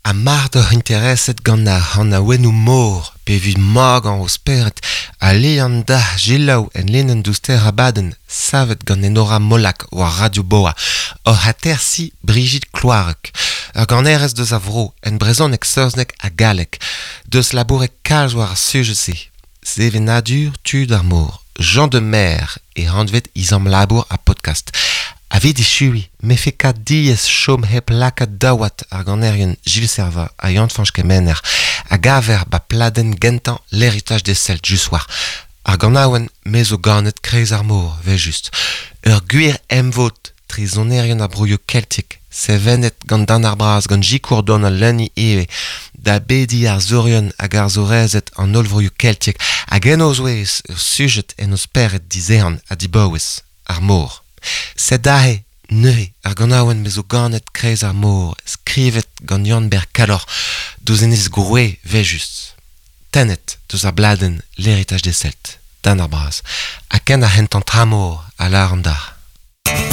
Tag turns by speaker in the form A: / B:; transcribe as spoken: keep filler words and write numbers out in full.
A: Ha mard oc'h intereset gant ar c'hanaouennoù mor pe evit magañ ho spered a alian dac'h selaou en linenn douster abadenn savet gant Enora Molac war Radio Boa oc'h atersiñ Brigitte Kloareg ur ganerez deus a vro en brezhoneg saozneg ha galleg deus labouret kalz war ar sujed-se sevenadur tud ar mor Gens de Mer e anvet he zamm labour ha podcast Evit echuiñ 'mefe ket diaes chom hep lakaat daouad ar ganerien Gilles Servat ha Yann-Fañch Kemener a gaver ba pladenn gentañ L'héritage des Celtes just war ar ganaouenn Me zo ganet kreiz ar mor, evel-just. Ur gwir emvod tre sonerien ar broioù keltiek, sevenet gant Dan ar Braz, gant sikour Donal Lunny ivez, da bediñ arzourien hag arzourezed an holl vroioù keltiek hag en o zouez ur sujed en o spered dizehan ha dibaouez, ar mor. Sed aze neuze ar ganaouenn Me zo ganet kreiz ar mor, skrivet gant Yann-Ber Kalloc'h, deus enez Groe evel-just. Tennet deus ar bladenn L'héritage des Celtes, Dan ar Braz. Ha ken ar c'hentañ tramor a lâran dac'h.